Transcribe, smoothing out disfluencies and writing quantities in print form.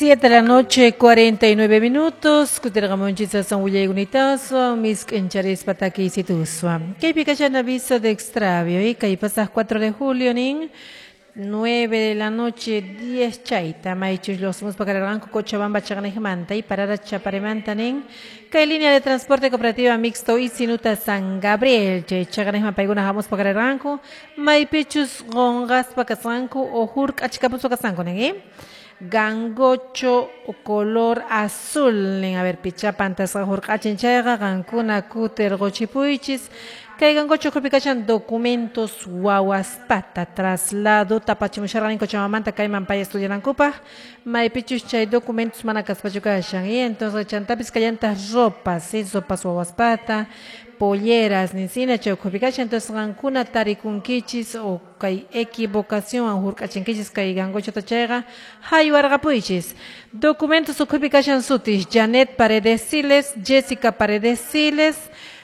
7 de la noche, 49 minutos. Kutirqamunchis san willaykunitawan misk'incharispa takiysituswan. Kaypi kashan aviso de extravio y kay pasaq 4 de julio nin 9 de la noche 10 chayta maychus lluqsimuspa karqanku Cochabamba chaqniqmanta y parada Chaparemanta nin kay línea de transporte cooperativa mixto Isinuta San Gabriel chay chaqniqman paykuna hamuspa karqanku maypichus qunqaspa kasqanku o hurk'achkapuspa kasqanku nin, eh? Gangocho color azul nin. A ver, pichapantasqa hurq'achin chayqa qankuna kutirquchipuychis. Kay gangocho ukhupi kashan documentos wawaspata traslado tapachimusharqani Cochabambamanta kayman pay estudianankupaq, maypichus chay documentos mana kaspachu kashan. Y entonces chantapis kallantaq ropas, ¿sí? Ropas wawaspata, polleras nisina chay ukhupi kashan. Entonces qankuna tarikunkichis o kay equivocación hurq'achinkichis kay gangochota chayqa haywarqapuychis. Documentos ukhupi kashan sutis: Janet Paredes Siles, Jessica Paredes Siles.